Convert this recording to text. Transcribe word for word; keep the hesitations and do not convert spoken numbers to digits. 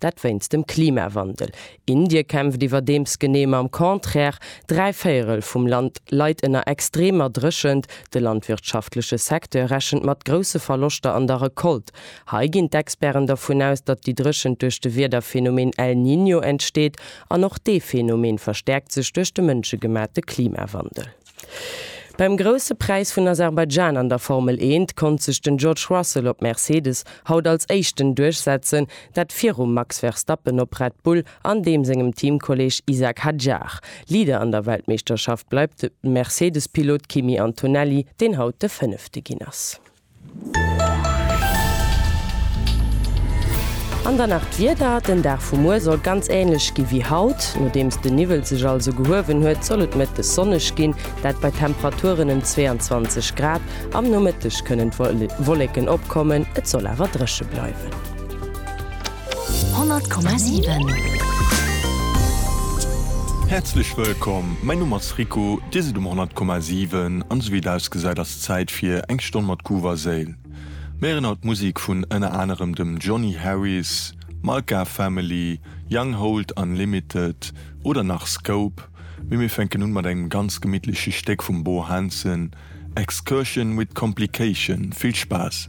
dat wéinst dem Klimawandel. Indie kämpft iwwerdeems genee mam Contraire, dräi Véierel vum Land leit ënner extremer Dréchent, de landwirtschaftleche Secteur rechent mat grousse Verloschter an der Recolte. Hei ginn d'Experten dovun aus, datt déi Dréchent duerch de Wiederphenomen El Niño entsteet, an och dee Phenomen verstäerkt sech duerch de mënschegemaachte Klimawandel. Beim Grousse Präis vun Aserbaidschan an der Formel eent konnt sech den George Russell op Mercedes haut als Éischten duerchsetzen, dat virum Max Verstappen op Red Bull an deem sengem Teamkolleeg Isack Hadjar. Leader an der Weltmeeschterschaft bleift de Mercedes-Pilot Kimi Antonelli, deen haut de Fënnefte ginn ass. An dann nach d'Wieder, Den Dag vu muer soll ganz änlech gi wéi haut. Nodeems den Niwwel sech also gehuewen huet, soll et mëttes sonneg ginn, dat bei Temperaturen ëm zweeanzwanzeg Grad. Am Nomëtteg kënnen Wolleken opkommen, et soll awer dréche bleiwen. Honnert Komma siwen. Häerzlech wëllkomm, mäin Numm ass Rico, dir sidd um honnert Komma siwen an esou wéi et ausgesäit ass Zäit fir eng Stonn mat Groove a Séil. Mir héieren haut Musek vun ënner anerem dem Johnny Harris, Malka Family, Young Hold Unlimited oder nach Scope, mee mir fänken un mat engem ganz gemittleche Stéck vum Bo Hansen, Excursion with Complication. Vill Spaass!